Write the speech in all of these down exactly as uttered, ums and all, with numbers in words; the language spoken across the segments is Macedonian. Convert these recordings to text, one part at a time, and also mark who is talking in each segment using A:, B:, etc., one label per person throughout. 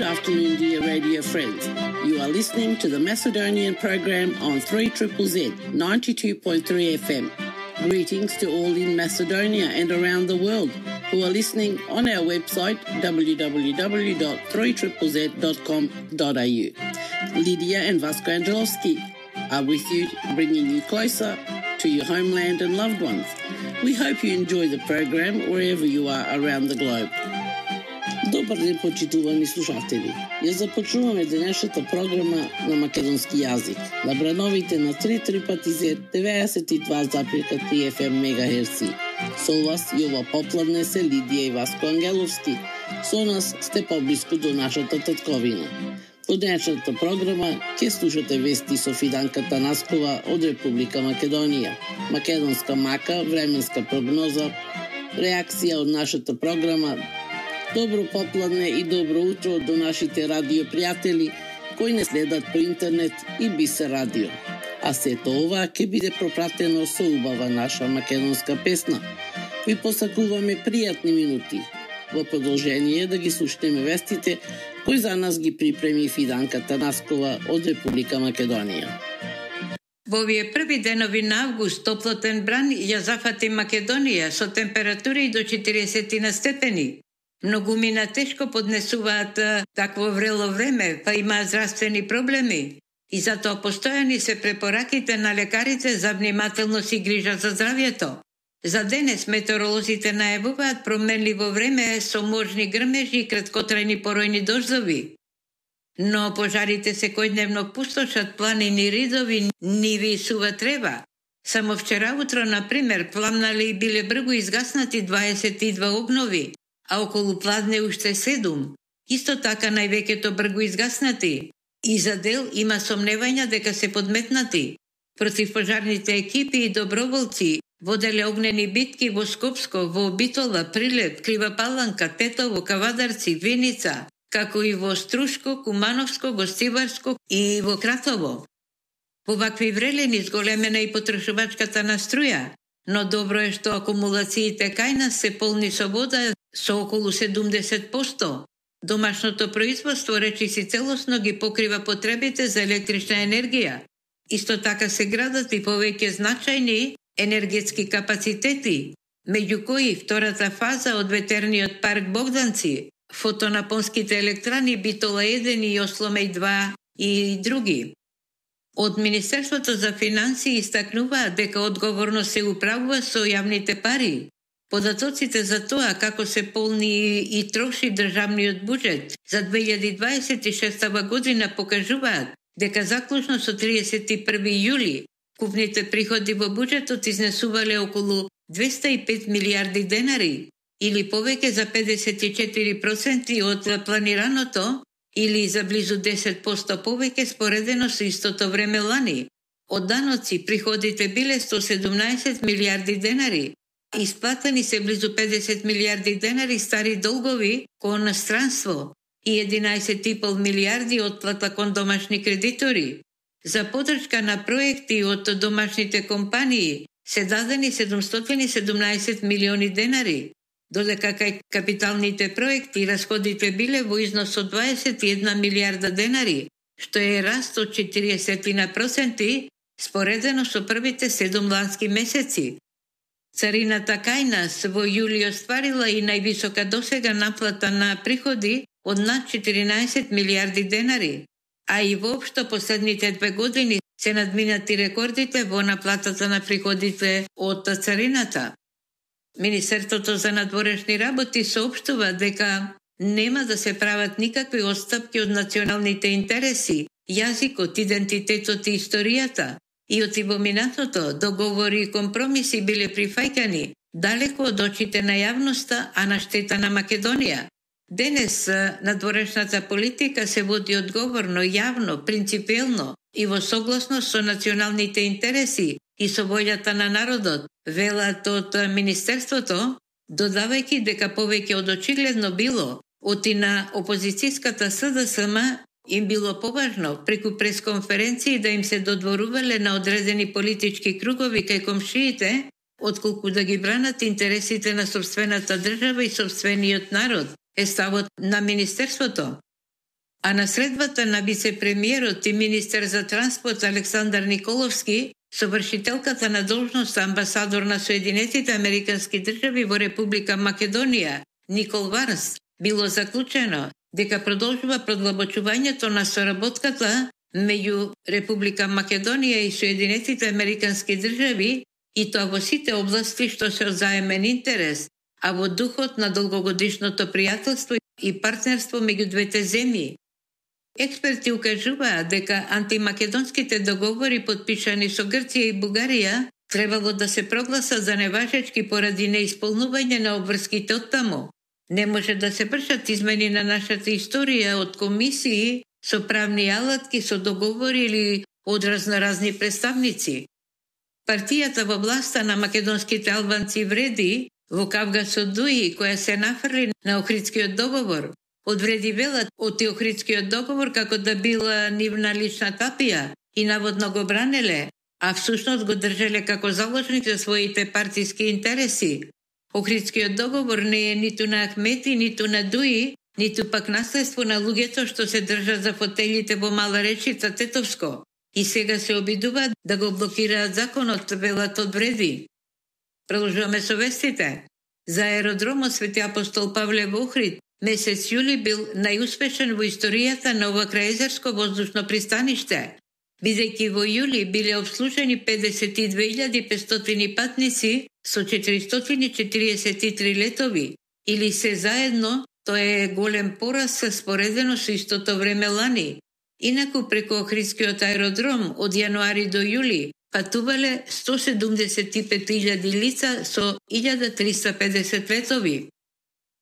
A: afternoon, dear radio friends. You are listening to the Macedonian program on three Z Z Z, ninety-two point three F M. Greetings to all in Macedonia and around the world who are listening on our website w w w dot three z z z dot com dot a u. Lydia and Vasco Angelovski are with you, bringing you closer to your homeland and loved ones. We hope you enjoy the program wherever you are around the globe. Добар ден, почитувани слушатели. Ја започнуваме денешната програма на македонски јазик на брановите на три три пати зет деветдесет и два запирка три F M мегахерци. Со вас Јова Попладнесе, Лидија и Васко Ангеловски. Со нас сте поблиску до нашата татковина. Во денешната програма ќе слушате вести со Фиданка Танаскова од Република Македонија, македонска мака, временска прогноза, реакција од нашата програма. Добро попладне и добро утро до нашите радиопријатели кои не следат по интернет и Бисер радио. А сето ова ќе биде пропратено со убава наша македонска песна. Ви посакуваме пријатни минути. Во продолжение да ги слушнеме вестите кои за нас ги припреми Фиданка Танаскова од Република Македонија.
B: Во овие први денови на август топлотен бран ја зафати Македонија со температури до четириесет степени. Многумина тешко поднесуваат такво врело време, па имаат здравствени проблеми. И затоа постојани се препораките на лекарите за внимателност и грижа за здравјето. За денес метеоролозите најавуваат променливо време со можни грмежи и краткотрајни поројни дождови. Но пожарите секојдневно пустошат планини, ридови, ниви и сува трева. Само вчера утро, например, пламнале и биле бргу изгаснати дваесет и два огнови, а околу Пладне уште седум. Исто така највеќето бргу изгаснати. И за дел има сомневања дека се подметнати. Противпожарните екипи и доброволци воделе огнени битки во Скопско, во Битола, Прилеп, Крива Паланка, Тетово, Кавадарци, Виница, како и во Струшко, Кумановско, Гостиварско и во Кратово. Во вакви врелени зголемена и потрошувачката на струја, но добро е што акумулациите кај нас се полни со вода со околу седумдесет проценти. Домашното производство речиси целосно ги покрива потребите за електрична енергија. Исто така се градат и повеќе значајни енергетски капацитети, меѓу кои втората фаза од ветерниот парк Богданци, фотонапонските електрани Битола еден и Осломеј два и други. Од Министерството за финансии истакнуваат дека одговорно се управува со јавните пари. Податоците за тоа како се полни и троши државниот буџет за две илјади дваесет и шеста година покажуваат дека заклучно со триесет и први јули купните приходи во буџетот изнесувале околу двеста и пет милијарди денари, или повеќе за педесет и четири проценти од планираното, или за близу десет проценти повеќе споредено со истото време лани. Од даноци приходите биле сто седумнаесет милијарди денари. Исплатени се близу педесет милијарди денари стари долгови кон странство и единаесет и пол милијарди отплата кон домашни кредитори. За подршка на проекти од домашните компании се дадени седумстотини и седумнаесет милиони денари, додека кај капиталните проекти расходите биле во износ од дваесет и една милијарда денари, што е раст од четириесет проценти споредено со првите седум лански месеци. Царината кај нас во јули остварила и највисока досега наплата на приходи од над четиринаесет милијарди денари, а и воопшто последните две години се надминати рекордите во наплатата на приходите од царината. Министерството за надворешни работи соопштува дека нема да се прават никакви отстапки од националните интереси, јазикот, идентитетот и историјата. И од во минатото договори и компромиси биле прифаќани далеко од очите на јавноста, а на штета на Македонија. Денес надворешната политика се води одговорно, јавно, принципиелно и во согласност со националните интереси и со волјата на народот, велат од Министерството, додавајќи дека повеќе од очигледно било од и на опозицијската С Д С М им било поважно преку пресконференции да им се додворувале на одредени политички кругови кај комшиите, отколку да ги бранат интересите на собствената држава и собствениот народ, е ставот на Министерството. А на средбата на вице-премиерот и министер за транспорт Александар Николовски со вршителката на должност амбасадор на Соединетите Американски држави во Република Македонија Никол Варс било заклучено дека продолжува продлабочувањето на соработката меѓу Република Македонија и Соединетите Американски држави и тоа во сите области што се од заемен интерес, а во духот на долгогодишното пријателство и партнерство меѓу двете земји. Експерти укажуваат дека антимакедонските договори подпишани со Грција и Бугарија требало да се прогласат за неважечки поради неисполнување на обврските оттаму. Не може да се вршат измени на нашата историја од комисии со правни алатки, со договори или од разноразни представници. Партијата во власта на македонските албанци вреди во Кавгасо Дуи, која се нафрли на Охридскиот договор, одвреди велат од Охридскиот договор како да била нивна лична тапија и наводно го бранеле, а всушност го држеле како заложник за своите партиски интереси. Охридскиот договор не е ниту на Ахмети, ниту на Дуи, ниту пак наследство на луѓето што се држат за фотелите во Мала Речица Тетовско и сега се обидуваат да го блокираат законот, велат одвреди. Продолжуваме со вестите. За аеродромот Свети апостол Павле во Охрид месец јули бил најуспешен во историјата на ова крајезерско воздушно пристаниште, бидејќи во јули биле обслужени педесет и две илјади и петстотини патници со четиристотини и четиридесет и три летови, или се заедно, тоа е голем пораст споредено со истото време лани. Инаку преку Охридскиот аеродром од јануари до јули патувале сто седумдесет и пет илјади лица со илјада триста и педесет летови.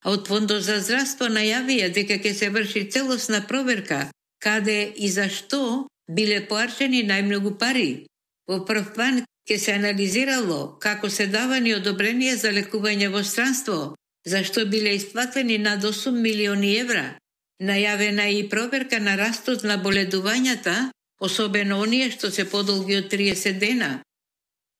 B: А од Фондот за здравство најавија дека ќе се врши целосна проверка каде и зашто биле поарчени најмногу пари. Во прв план ќе се анализирало како се давани одобренија за лекување во странство, зашто биле исплатени над осум милиони евра. Најавена е и проверка на растот на боледувањата, особено оние што се подолги од триесет дена.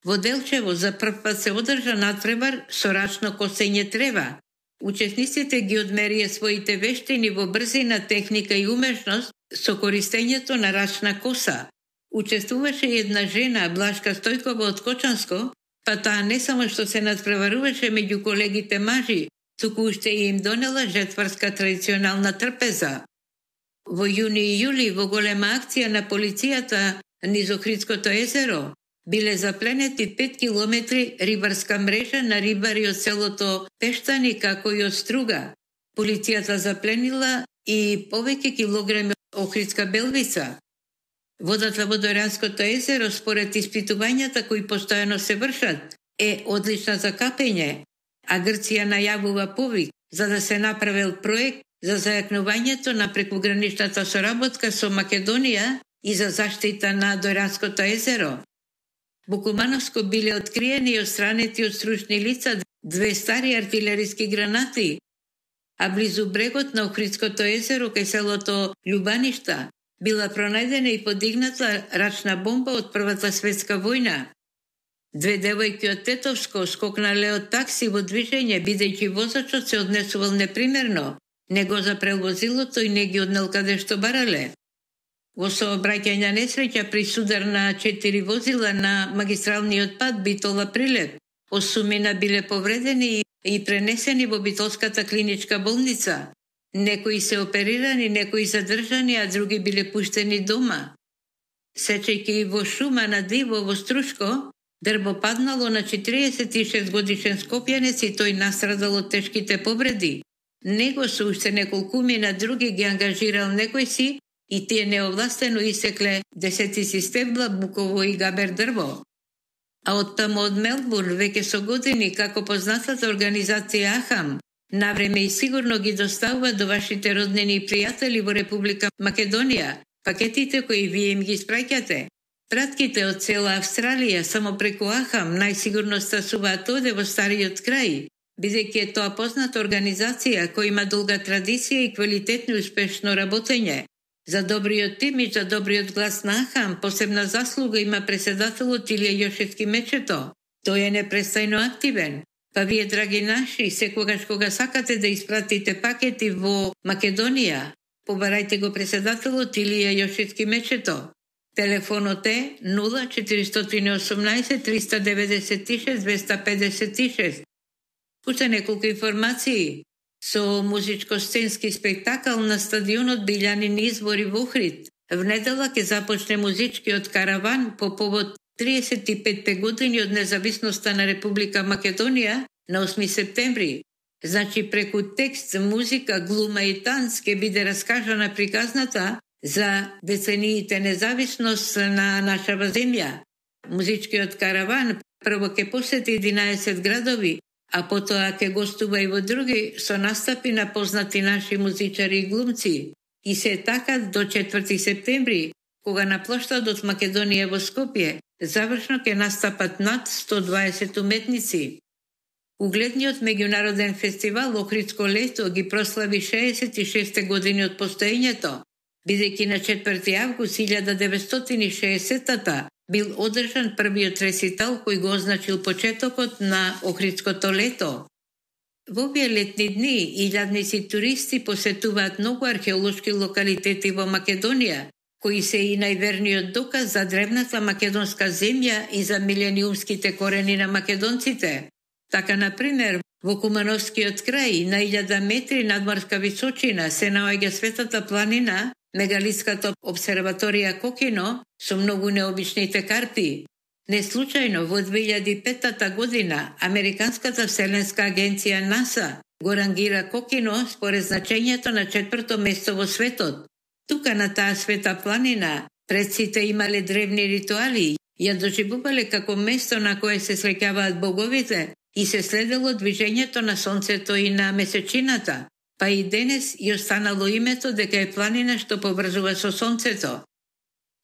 B: Во Делчево за прв пат се одржа надпревар со рачно косење трева. Учесниците ги одмерија своите вештини во брзина, техника и умешност со користењето на рачна коса. Учествуваше една жена, Блашка Стојкова од Кочанско, па таа не само што се надпреваруваше меѓу колегите мажи, туку уште им донела жетварска традиционална трпеза. Во јуни и јули во голема акција на полицијата низ Охридското езеро биле запленети пет километри рибарска мрежа на рибари од селото Пештани како и од Струга. Полицијата запленила и повеќе килограми охридска белвица. Водата во Дојранското езеро, според испитувањата кои постојано се вршат, е одлична за капење, а Грција најавува повик за да се направил проект за зајакнувањето на прекуграничната соработка со Македонија и за заштита на Дојранското езеро. Во Кумановско биле откриени и отстранети од стручни лица две стари артилериски гранати, а близу брегот на Охридското езеро кај селото Љубаништа била пронајдена и подигната рачна бомба од Првата светска војна. Две девојки од Тетовско скокнале од такси во движење, бидејќи возачот се однесувал непримерно, не го запрел возилото и не ги однел каде што барале. Во сообраќајна несреќа при судар на четири возила на магистралниот пат Битола Прилеп, осумина биле повредени и пренесени во Битолската клиничка болница. Некои се оперирани, некои задржани, а други биле пуштени дома. Сечејќи во шума на диво во Струшко, дрво паднало на четириесет и шест годишен скопјанец и тој настрадал од тешките повреди. Него со уште неколкумина други ги ангажирал некој си и тие неовластено исекле десетици стебла, буково и габер дрво. А од таму од Мелбурн, веќе со години, како познатата организација Ахам, навреме и сигурно ги доставува до вашите роднини и пријатели во Република Македонија пакетите кои вие им ги испраќате. Пратките од цела Австралија само преку Ахам најсигурно стасуваат оде во стариот крај, бидејќи е тоа позната организација која има долга традиција и квалитетно и успешно работење. За добриот имидж, за добриот глас на Ахам, посебна заслуга има преседателот Илија Јошевски Мечето. Тој е непрестајно активен. Па вие, драги наши, секогаш кога сакате да испратите пакети во Македонија, побарајте го председателот Илија Јошицки Мечето. Телефонот е нула четиристотини и осумнаесет триста деветдесет и шест двеста педесет и шест. Уште неколку информации. Со музичко-сценски спектакл на стадионот Билјанини избори во Охрид. В недела ќе започне музичкиот караван по повод триесет и пет години од независноста на Република Македонија на осми септември. Значи преку текст, музика, глума и танц ќе биде раскажана приказната за децениите независност на нашава земја. Музичкиот караван прво ќе посети единаесет градови, а потоа ќе гостува и во други со настапи на познати наши музичари и глумци. И се така до четврти септември, кога на плоштадот Македонија во Скопје завршно ќе настапат над сто дваесет уметници. Угледниот меѓународен фестивал Охридско лето ги прослави шеесет и шеста години од постоењето, бидејќи на четврти август илјада деветстотини и шеесеттата бил одржан првиот реситал кој го означил почетокот на Охридското лето. Во овие летни дни илјадници туристи посетуваат многу археолошки локалитети во Македонија, кои се и најверниот доказ за древната македонска земја и за милениумските корени на македонците. Така, например, во Кумановскиот крај, на илјада метри надморска височина, се наоѓа светата планина, мегалитската обсерваторија Кокино, со многу необичните карти. Не случајно, во две илјади и петта година, Американската вселенска агенција НАСА го рангира Кокино според значењето на четврто место во светот. Тука на таа света планина, предците имале древни ритуали, ја доживувале како место на кое се среќаваат боговите и се следело движењето на сонцето и на месечината, па и денес и останало името дека е планина што поврзува со сонцето.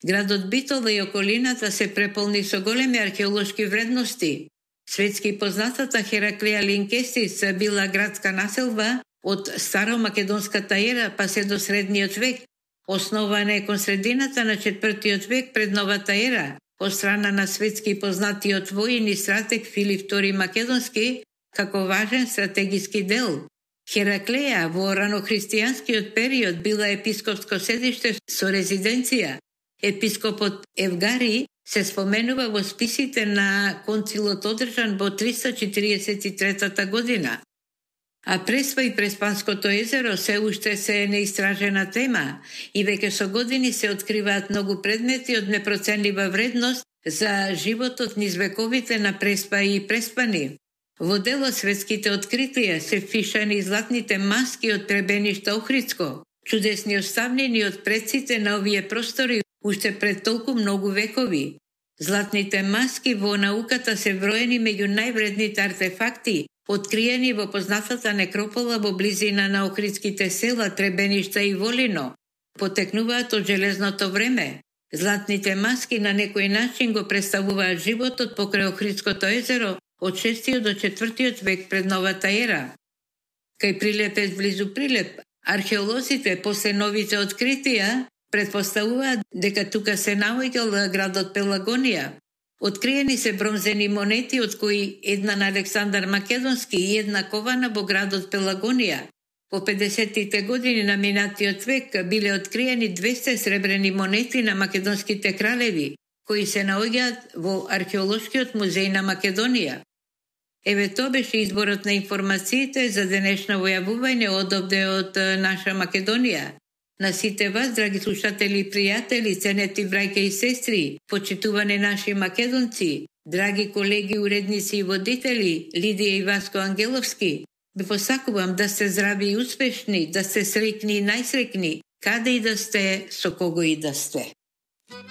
B: Градот Битола и околината се преполни со големи археолошки вредности. Светски познатата Хераклеја Линкестис била градска населба од старомакедонската ера па се до средниот век. Основана е кон средината на четвртиот век пред новата ера, од страна на светски познатиот воин и стратег Филип втори Македонски, како важен стратегиски дел. Хераклеја во ранохристијанскиот период била епископско седиште со резиденција. Епископот Евгари се споменува во списите на концилот одржан во триста четириесет и трета година. А Преспа и Преспанското езеро се уште се е неистражена тема и веќе со години се откриваат многу предмети од непроценлива вредност за животот низ вековите на Преспа и Преспани. Во делот светските откритија се впишани златните маски од Требениште Охридско, чудесни оставнени од предците на овие простори уште пред толку многу векови. Златните маски во науката се броени меѓу највредните артефакти, откриени во познатата некропола во близина на охридските села Требениште и Волино. Потекнуваат од железното време. Златните маски на некој начин го представуваат животот покрај Охридското езеро од шестиот до четвртиот век пред новата ера. Кај Прилепец близу Прилеп, археолозите после новите откритија предпоставуваат дека тука се наоѓал градот Пелагонија. Откриени се бронзени монети, од кои една на Александар Македонски и една кована во градот Пелагонија. Во педесеттите години на минатиот век биле откриени двесте сребрени монети на македонските кралеви, кои се наоѓаат во Археолошкиот музеј на Македонија. Еве тоа беше изборот на информациите за денешно војавување одовде од наша Македонија. На сите вас, драги слушатели и пријатели, ценети браќа и сестри, почитувани наши македонци, драги колеги, уредници и водители, Лидија и Васко Ангеловски, ви посакувам да сте здрави и успешни, да сте среќни и најсреќни, каде и да сте, со кого и да сте.